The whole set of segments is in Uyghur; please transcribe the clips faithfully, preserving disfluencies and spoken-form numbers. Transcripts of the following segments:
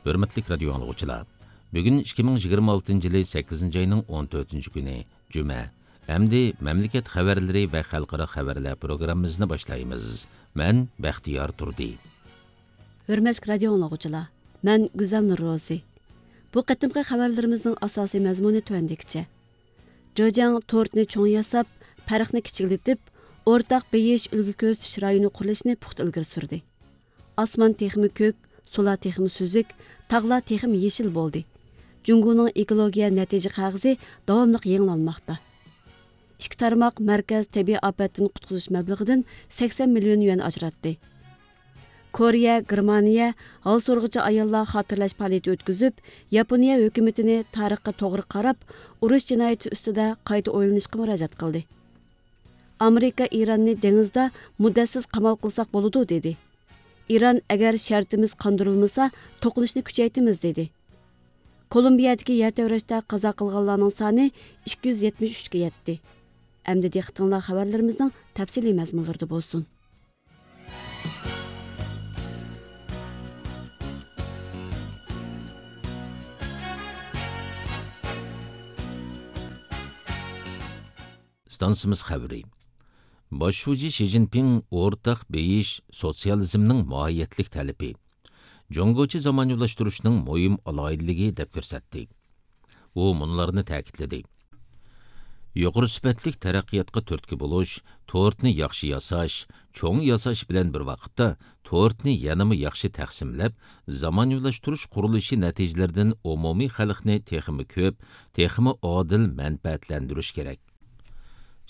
ھۆرمەتلىك رادىيو ئاڭلىغۇچىلار، بۈگۈن ئىككى مىڭ يىگىرمە ئالتىنچى يىلى سەككىزىنچى ئاينىڭ ئون تۆتىنچى كۈنى، جۈمە. ئەمدى مەملىكەت خەۋەرلىرى ۋە خەلقئارا خەۋەرلەر پروگراممىسىنى باشلايمىز. مەن بەختىيار تۇردى. ھۆرمەتلىك رادىيو ئاڭلىغۇچىلار، مەن گۈزەل نۇرروزى. بۇ قېتىمقى خەۋەرلىرىمىزنىڭ ئاساسىي مەزمۇنى تۆۋەندىكىچە. جېجياڭ تورتنى چوڭ ياساپ، پەرقنى كىچىكلىتىپ، ئورتاق بېيىش، ئۈلگە كۆرسىتىش رايونى قۇرۇلۇشىنى پۇختا ئىلگىرى سۈردى. ئاسمان تېخىمۇ كۆك، سۇلار تېخىمۇ سۈزۈك، تاغلار تېخىمۇ يېشىل بولدى. جۇڭگونىڭ ئېكولوگىيە نەتىجە قەغىزى داۋاملىق يېڭىلانماقتا. ئىككى تارماق مەركەز تەبىئىي ئاپەتتىن قۇتقۇزۇش مەبلىغىدىن سەكسەن مىليون يۈەن ئاجراتتى. كورېيە، گېرمانىيە ھال سورىغۇچى ئاياللار خاتىرىلەش پائالىيىتى ئۆتكۈزۈپ، ياپونىيە ھۆكۈمىتىنى تارىخقا توغرا قاراپ، ئۇرۇش جىنايىتى ئۈستىدە قايتا ئويلىنىشقا مۇراجىئەت قىلدى. ئامېرىكا ئىراننى دېڭىزدا مۇددەتسىز قامال قىلساق بولىدۇ، دېدى. ئىران ئەگەر شەرتىمىز قاندۇرۇلمىسا، توقۇنۇشنى كۈچەيتىمىز، دېدى. كولومبىيەدىكى يەر تەۋرەشتە قازا قىلغانلارنىڭ سانى ئىككى يۈز يەتمىش ئۈچكە يەتتى. ئەمدى دىققىتىڭلار خەۋەرلىرىمىزنىڭ تەپسىلىي مەزمۇنلىرىدا بولسۇن. ئىستانسىمىز خەۋىرى. باش شۇجى شى جىنپىڭ ئورتاق بېيىش سوتسىيالىزمنىڭ ماھىيەتلىك تەلىپى، جۇڭگوچە زامانىۋىلاشتۇرۇشنىڭ مۇھىم ئالاھىدىلىكى دەپ كۆرسەتتى. ئۇ مۇنۇلارنى تەكىتلىدى: يۇقىرى سۈپەتلىك تەرەققىياتقا تۈرتكە بولۇش، تورتنى ياخشى ياساش، چوڭ ياساش بىلەن بىر ۋاقىتتا، تورتنى يەنىمۇ ياخشى تەقسىملەپ، زامانىۋىلاشتۇرۇش قۇرۇلۇشى نەتىجىلىرىدىن ئومۇمىي خەلقنى تېخىمۇ كۆپ، تېخىمۇ ئادىل مەنپەئەتلەندۈرۈش كېرەك.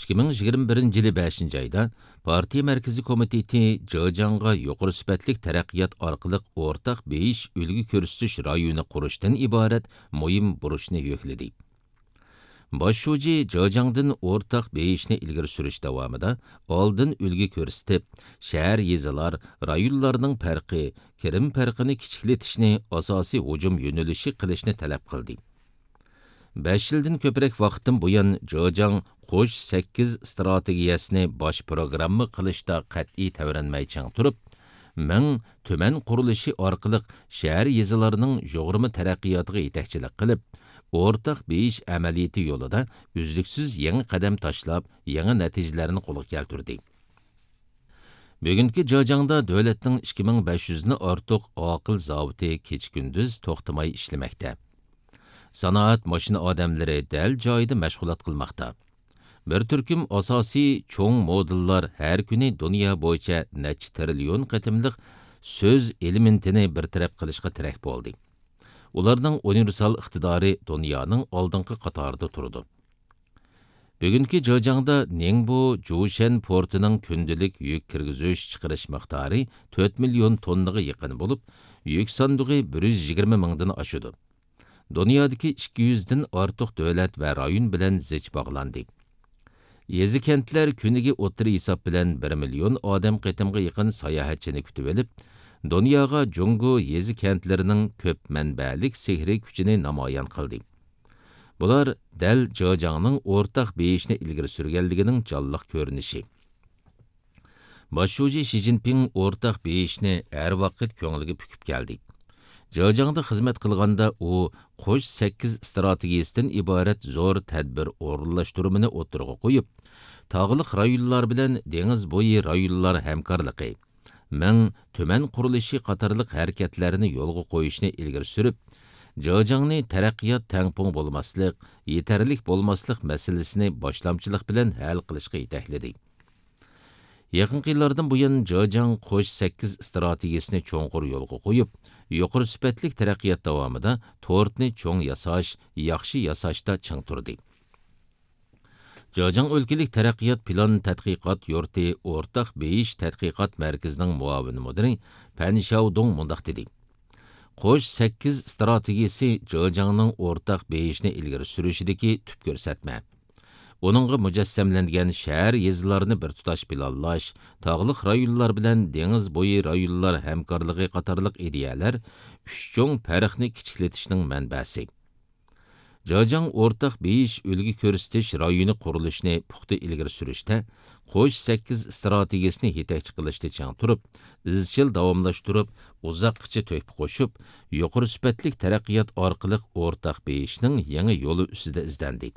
ئىككى مىڭ يىگىرمە بىرىنچى يىلى بەشىنچى ئايدا پارتىيە مەركىزىي كومىتېتى جېجياڭغا يۇقىرى سۈپەتلىك تەرەققىيات ئارقىلىق ئورتاق بېيىش، ئۈلگە كۆرسىتىش رايونى قۇرۇشتىن ئىبارەت مۇھىم بۇرچنى يۈكلىدى. باش شۇجى جېجياڭدىن ئورتاق بېيىشنى ئىلگىرى سۈرۈش داۋامىدا ئالدىن ئۈلگە كۆرسىتىپ، شەھەر، يېزىلار، رايونلارنىڭ پەرقى، كىرىم پەرقىنى كىچىكلىتىشنى ئاساسىي ھۇجۇم يۆنىلىشى قىلىشنى تەلەپ قىلدى. بەش يىلدىن كۆپرەك ۋاقىتتىن بۇيان، جېجياڭ قوش سەككىز ئىستراتېگىيەسىنى باش پروگرامما قىلىشتا قەتئىي تەۋرەنمەي چىڭ تۇرۇپ، مىڭ تۈمەن قۇرۇلۇشى ئارقىلىق شەھەر، يېزىلارنىڭ يۇغۇرما تەرەققىياتىغا يېتەكچىلىك قىلىپ، ئورتاق بېيىش ئەمەلىيىتى يولىدا ئۈزلۈكسىز يېڭى قەدەم تاشلاپ، يېڭى نەتىجىلەرنى قولغا كەلتۈردى. بۈگۈنكى جېجياڭدا دۆلەتنىڭ ئىككى مىڭ بەش يۈزدىن ئارتۇق ئاقىل زاۋۇتى كېچە-كۈندۈز توختىماي ئىشلىمەكتە. سانائەت ماشىنا ئادەملىرى دەل جايىدا مەشغۇلات قىلماقتا. بىر تۈركۈم ئاساسىي چوڭ مودېللار ھەر كۈنى دۇنيا بويىچە نەچچە تىرىليون قېتىملىق سۆز ئېلېمېنتىنى بىر تەرەپ قىلىشقا تىرەك بولدى. ئۇلارنىڭ ئۇنىۋېرسال ئىقتىدارى دۇنيانىڭ ئالدىنقى قاتارىدا تۇرىدۇ. بۈگۈنكى جېجياڭدا نىڭبو جۇشەن پورتىنىڭ كۈندىلىك يۈك كىرگۈزۈش چىقىرىش مىقدارى تۆت مىليون توننىغا يېقىن بولۇپ، يۈك ساندۇقى بىر يۈز يىگىرمە مىڭدىن ئاشىدۇ. دۇنيادىكى ئىككى يۈزدىن ئارتۇق دۆلەت ۋە رايون بىلەن زىچ باغلاندى. يېزا-كەنتلەر كۈنىگە ئوتتۇرا ھېساب بىلەن بىر مىليون ئادەم قېتىمغا يېقىن ساياھەتچىنى كۈتۈۋېلىپ، دۇنياغا جۇڭگو يېزا-كەنتلىرىنىڭ كۆپ مەنبەلىك سېھرىي كۈچىنى نامايان قىلدى. بۇلار دەل جېجياڭنىڭ ئورتاق بېيىشنى ئىلگىرى سۈرگەنلىكىنىڭ جانلىق كۆرۈنۈشى. باش شۇجى شى جىنپىڭ ئورتاق بېيىشنى ھەر ۋاقىت كۆڭلىگە پۈكۈپ كەلدى. جېجياڭدا خىزمەت قىلغاندا ئۇ قوش سەككىز ئىستراتېگىيەسىدىن ئىبارەت زور تەدبىر ئورۇنلاشتۇرمىنى ئوتتۇرىغا قويۇپ، تاغلىق رايونلار بىلەن دېڭىز بويى رايونلار ھەمكارلىقى، مىڭ تۈمەن قۇرۇلۇشى قاتارلىق ھەرىكەتلەرنى يولغا قويۇشنى ئىلگىرى سۈرۈپ، جېجياڭنى تەرەققىيات تەڭپۇڭ بولماسلىق، يېتەرلىك بولماسلىق مەسىلىسىنى باشلامچىلىق بىلەن ھەل قىلىشقا يېتەكلىدى. يېقىنقى يىللاردىن بۇيان، جېجياڭ قوش سەككىز ئىستراتېگىيەسىنى چوڭقۇر يولغا قويۇپ، يۇقىرى سۈپەتلىك تەرەققىيات داۋامىدا تورتنى چوڭ ياساش، ياخشى ياساشتا چىڭ تۇردى. جېجياڭ ئۆلكىلىك تەرەققىيات پىلان تەتقىقات يۇرتى ئورتاق بېيىش تەتقىقات مەركىزىنىڭ مۇئاۋىن مۇدىرى پەن شياۋدۇڭ مۇنداق دېدى: قوش سەككىز ئىستراتېگىيەسى جېجياڭنىڭ ئورتاق بېيىشنى ئىلگىرى سۈرۈشىدىكى تۈپ كۆرسەتمە. ئۇنىڭغا مۇجەسسەملەنگەن شەھەر، يېزىلارنى بىر تۇتاش پىلانلاش، تاغلىق رايونلار بىلەن دېڭىز بويى رايونلار ھەمكارلىقى قاتارلىق ئىدىيەلەر ئۈچ چوڭ پەرقنى كىچىكلىتىشنىڭ مەنبەسى. جاجاڭ ئورتاق بېيىش ئۈلگە كۆرسىتىش رايونى قۇرۇلۇشىنى پۇختا ئىلگىرى سۈرۈشتە، قوش سەككىز ئىستراتېگىيەسىنى يېتەكچى قىلىشتا چىڭ تۇرۇپ، ئىزچىل داۋاملاشتۇرۇپ، ئۇزاققىچە تۆھپە قوشۇپ، يۇقىرى سۈپەتلىك تەرەققىيات ئارقىلىق ئورتاق بېيىشنىڭ يېڭى يولى ئۈستىدە ئىزدەندى.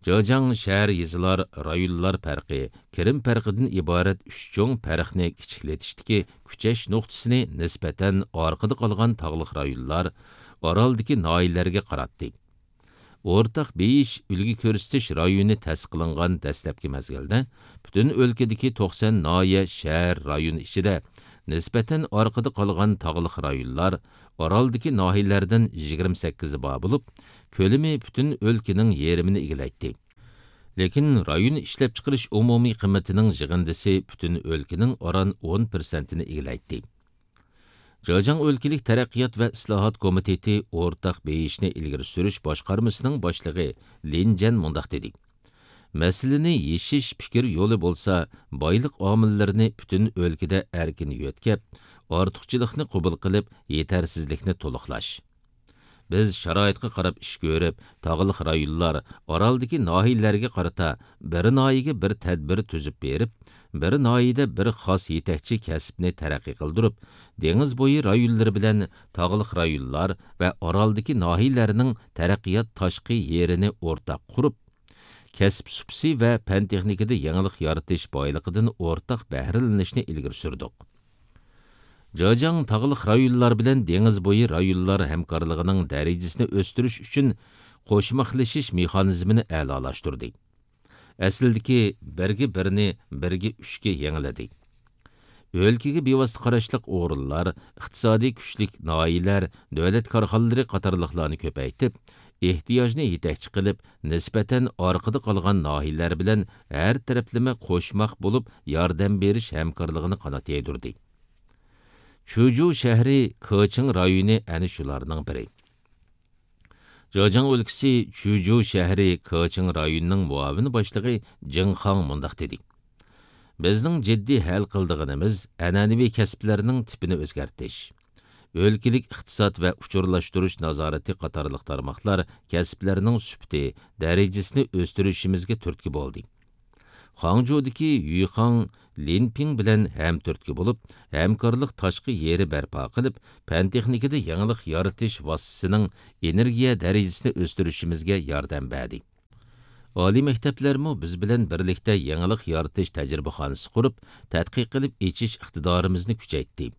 جاجاڭ شەھەر، يېزىلار، رايونلار پەرقى، كىرىم پەرقىدىن ئىبارەت ئۈچ چوڭ پەرقنى كىچىكلىتىشتىكى كۈچەش نۇقتىسىنى نىسبەتەن ئارقىدا قالغان تاغلىق رايونلار، ئارالدىكى ناھىيەلەرگە قاراتتى. ئورتاق بېيىش ئۈلگە كۆرسىتىش رايونى تەسىس قىلىنغان دەسلەپكى مەزگىلدە پۈتۈن ئۆلكىدىكى توقسان ناھىيە، شەھەر، رايون ئىچىدە نىسبەتەن ئارقىدا قالغان تاغلىق رايونلار، ئارالدىكى ناھىيەلەردىن يىگىرمە سەككىزى بار بولۇپ، كۆلىمى پۈتۈن ئۆلكىنىڭ يېرىمىنى ئىگىلەيتتى. لېكىن رايون ئىشلەپچىقىرىش ئومۇمىي قىممىتىنىڭ يىغىندىسى پۈتۈن ئۆلكىنىڭ ئاران ئون پىرسەنتىنى ئىگىلەيتتى. جاجاڭ ئۆلكىلىك تەرەققىيات ۋە ئىسلاھات كومىتېتى ئورتاق بېيىشنى ئىلگىرى سۈرۈش باشقارمىسىنىڭ باشلىقى لىن جەن مۇنداق دېدى: مەسىلىنى يېشىش پىكىر يولى بولسا، بايلىق ئامىللىرىنى پۈتۈن ئۆلكىدە ئەركىن يۆتكەپ، ئارتۇقچىلىقنى قوبۇل قىلىپ، يېتەرسىزلىكنى تولۇقلاش. بىز شارائىتقا قاراپ ئىش كۆرۈپ، تاغلىق رايونلار، ئارالدىكى ناھىيەلەرگە قارىتا بىر ناھىيەگە بىر تەدبىر تۈزۈپ بېرىپ، بىر ناھىيەدە بىر خاس يېتەكچى كەسىپنى تەرەققىي قىلدۇرۇپ، دېڭىز بويى رايونلىرى بىلەن تاغلىق رايونلار ۋە ئارالدىكى ناھىيەلەرنىڭ تەرەققىيات تاشقى يېرىنى ئورتاق قۇرۇپ، كەسىپ سۇپىسى ۋە پەن-تېخنىكىدا يېڭىلىق يارىتىش بايلىقىدىن ئورتاق بەھرىلىنىشنى ئىلگىرى سۈردۇق. جاجاڭ تاغلىق رايونلار بىلەن دېڭىز بويى رايونلار ھەمكارلىقىنىڭ دەرىجىسىنى ئۆستۈرۈش ئۈچۈن قوشماقلىشىش مېخانىزمىنى ئەلالاشتۇردى. ئەسلىدىكى بىرگە بىرنى بىرگە ئۈچكە يېڭىلىدى. ئۆلكىگە بىۋاسىتە قاراشلىق ئورۇنلار، ئىقتىسادىي كۈچلۈك ناھىيەلەر، دۆلەت كارخانىلىرى قاتارلىقلارنى كۆپەيتىپ، ئېھتىياجنى يېتەكچى قىلىپ، نىسبەتەن ئارقىدا قالغان ناھىيەلەر بىلەن ھەر تەرەپلىمە قوشماق بولۇپ ياردەم بېرىش ھەمكارلىقىنى قانات يايدۇردى. چۈجۇ شەھىرى كېچىڭ رايونى ئەنە شۇلارنىڭ بىرى. جاجاڭ ئۆلكىسى چۈجۇ شەھىرى كېچىڭ رايونىنىڭ مۇئاۋىن باشلىقى جېڭ خاڭ مۇنداق دېدى: بىزنىڭ جىددىي ھەل قىلىدىغىنىمىز ئەنئەنىۋى كەسىپلەرنىڭ تىپىنى ئۆزگەرتىش. ئۆلكىلىك ئىقتىساد ۋە ئۇچۇرلاشتۇرۇش نازارىتى قاتارلىق تارماقلار كەسىپلەرنىڭ سۈپىتى، دەرىجىسىنى ئۆستۈرۈشىمىزگە تۈرتكە بولدى. خاڭجۇدىكى يۈخاڭ لىنپىڭ بىلەن ھەمتۈرتكە بولۇپ، ھەمكارلىق تاشقى يېرى بەرپا قىلىپ، پەن-تېخنىكىدا يېڭىلىق يارىتىش ۋاسىتىسىنىڭ ئېنېرگىيە دەرىجىسىنى ئۆستۈرۈشىمىزگە ياردەم بەردى. ئالىي مەكتەپلەرمۇ بىز بىلەن بىرلىكتە يېڭىلىق يارىتىش تەجرىبىخانىسى قۇرۇپ، تەتقىق قىلىپ ئېچىش ئىقتىدارىمىزنى كۈچەيتتى.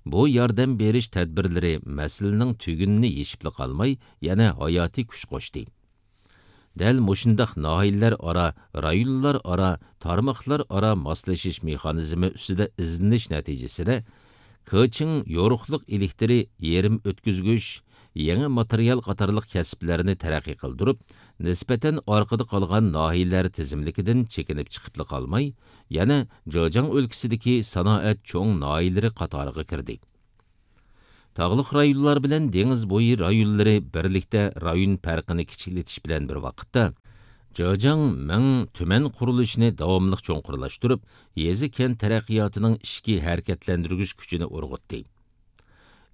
بۇ ياردەم بېرىش تەدبىرلىرى مەسىلىنىڭ تۈگۈنىنى يېشىپلا قالماي، يەنە ھاياتىي كۈچ قوشتى. دەل مۇشۇنداق ناھىيەلەر ئارا، رايونلار ئارا، تارماقلار ئارا ماسلىشىش مېخانىزمى ئۈستىدە ئىزدىنىش نەتىجىسىدە، كېچىڭ يورۇقلۇق ئېلېكتىرى، يېرىم ئۆتكۈزگۈچ، يېڭى ماتېرىيال قاتارلىق كەسىپلەرنى تەرەققىي قىلدۇرۇپ، نىسبەتەن ئارقىدا قالغان ناھىيەلەر تىزىملىكىدىن چېكىنىپ چىقىپلا قالماي، يەنە جېجياڭ ئۆلكىسىدىكى سانائەت چوڭ ناھىيەلىرى قاتارىغا كىردى. تاغلىق رايونلار بىلەن دېڭىز بويى رايونلىرى بىرلىكتە رايون پەرقىنى كىچىكلىتىش بىلەن بىر ۋاقىتتا، جېجياڭ مىڭ تۈمەن قۇرۇلۇشىنى داۋاملىق چوڭقۇرلاشتۇرۇپ، يېزا-كەنت تەرەققىياتىنىڭ ئىچكى ھەرىكەتلەندۈرگۈچ كۈچىنى ئۇرغۇتتى.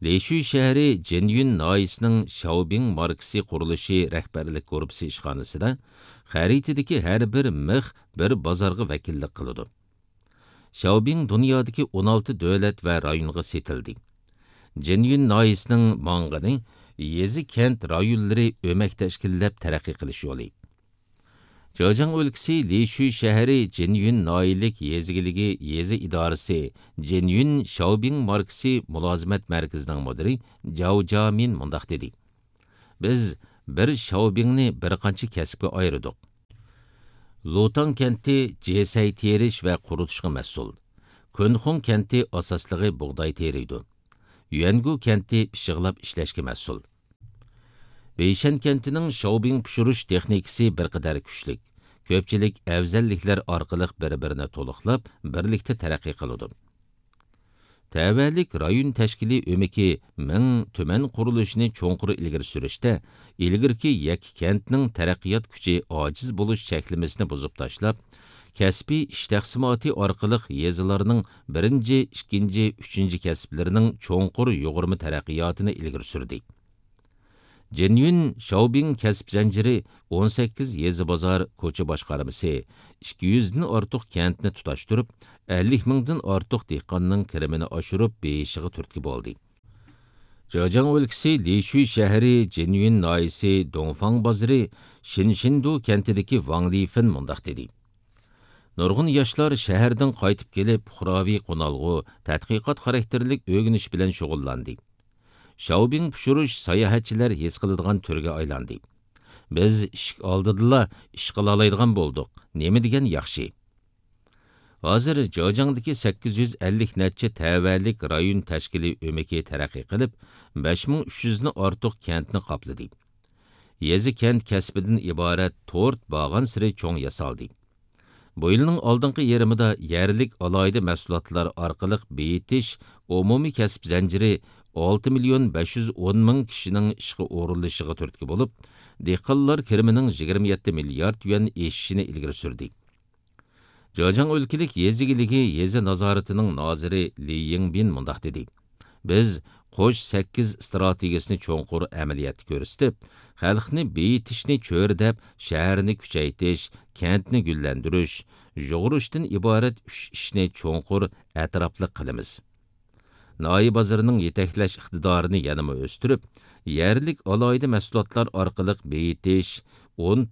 لىشۈي شەھىرى جىنيۈن ناھىيەسىنىڭ شياۋبىڭ ماركىسى قۇرۇلۇشى رەھبەرلىك گۇرۇپپىسى ئىشخانىسىدا خەرىتىدىكى ھەر بىر مىخ بىر بازارغا ۋەكىللىك قىلىدۇ. شياۋبىڭ دۇنيادىكى ئون ئالتە دۆلەت ۋە رايونغا سېتىلدى. جىنيۈن ناھىيەسىنىڭ ماڭغىنى يېزا-كەنت رايونلىرى ئۆمەك تەشكىللەپ تەرەققىي قىلىش يولى. جېجياڭ ئۆلكىسى لىشۈي شەھىرى جىنيۈن ناھىيەلىك يېزا ئىگىلىكى يېزا ئىدارىسى جىنيۈن شياۋبىڭ ماركىسى مۇلازىمەت مەركىزىنىڭ مۇدىرى جاۋ جامىن مۇنداق دېدى: بىز بىر شياۋبىڭنى بىر قانچە كەسىپكە ئايرىدۇق. لۇتاڭ كەنتى جېسەي تېرىش ۋە قۇرۇتۇشقا مەسئۇل. كۇنخۇڭ كەنتى ئاساسلىقى بۇغداي تېرىيدۇ. يۈەنگۇ كەنتى پىششىقلاپ ئىشلەشكە مەسئۇل. بېيشەن كەنتىنىڭ شياۋبىڭ پىشۇرۇش تېخنىكىسى بىر قەدەر كۈچلۈك. كۆپچىلىك ئەۋزەللىكلەر ئارقىلىق بىر-بىرىنى تولۇقلاپ، بىرلىكتە تەرەققىي قىلىدۇ. تەۋەلىك رايون تەشكىلىي ئۆمىكى مىڭ تۈمەن قۇرۇلۇشىنى چوڭقۇر ئىلگىرى سۈرۈشتە، ئىلگىرىكى يەككە كەنتنىڭ تەرەققىيات كۈچى ئاجىز بولۇش چەكلىمىسىنى بۇزۇپ تاشلاپ، كەسپىي ئىش تەقسىماتى ئارقىلىق يېزىلارنىڭ بىرىنچى، ئىككىنچى، ئۈچىنچى كەسىپلىرىنىڭ چوڭقۇر يۇغۇرما تەرەققىياتىنى ئىلگىرى سۈردى. جېنيۈن شاۋبىڭ كەسىپ زەنجىرى ئون سەككىز يېزا بازار كوچا باشقارمىسى ئىككى يۈزدىن ئارتۇق كەنتنى تۇتاشتۇرۇپ، ئەللىك مىڭدىن ئارتۇق دېھقاننىڭ كىرىمىنى ئاشۇرۇپ بېيىشىغا تۈرتكە بولدى. جېجياڭ ئۆلكىسى لىشۈي شەھىرى جېنيۈن ناھىيەسى دۇڭفاڭ بازىرى شىنشىندۇ كەنتىدىكى ۋاڭ لىفېن مۇنداق دېدى: نۇرغۇن ياشلار شەھەردىن قايتىپ كېلىپ، پۇقراۋى قونالغۇ، تەتقىقات خاراكتېرلىك ئۆگىنىش بىلەن شۇغۇللاندى. شاۋبىڭ پىشۇرۇش ساياھەتچىلەر ھېس قىلىدىغان تۈرگە ئايلاندى. بىز ئىشىك ئالدىدىلا ئىش قىلالايدىغان بولدۇق. نېمە دېگەن ياخشى! ھازىر جېجياڭدىكى سەككىز يۈز ئەللىك نەچچە تەۋەلىك رايون تەشكىلىي ئۆمىكى تەرەققىي قىلىپ، بەش مىڭ ئۈچ يۈزدىن ئارتۇق كەنتنى قاپلىدى. يېزا كەنت كەسپىدىن ئىبارەت تورت بارغانسېرى چوڭ ياسالدى. بۇ يىلنىڭ ئالدىنقى يېرىمىدا يەرلىك ئالاھىدە مەھسۇلاتلار ئارقىلىق بېيىتىش ئومۇمىي كەسىپ زەنجىرى ئالتە مىليون بەش يۈز ئون مىڭ كىشىنىڭ ئىشقا ئورۇنلىشىشىغا تۈرتكە بولۇپ، دېھقانلار كىرىمىنىڭ يىگىرمە يەتتە مىليارد يۈەن ئېشىشىنى ئىلگىرى سۈردى. جېجياڭ ئۆلكىلىك يېزا ئىگىلىكى يېزا نازارىتىنىڭ نازىرى لى يىڭبىن مۇنداق دېدى: بىز قوش سەككىز ئىستراتېگىيەسىنى چوڭقۇر ئەمەلىيەتتە كۆرسىتىپ، خەلقنى بېيىتىشنى چۆرىدەپ، شەھەرنى كۈچەيتىش، كەنتنى گۈللەندۈرۈش، يۇغۇرۇشتىن ئىبارەت ئۈچ ئىشنى چوڭقۇر ئەتراپلىق قىلىمىز. ناھىيە بازىرىنىڭ يېتەكلەش ئىقتىدارىنى يەنىمۇ ئۆستۈرۈپ، يەرلىك ئالاھىدە مەھسۇلاتلار ئارقىلىق بېيىتىش، ئۇن،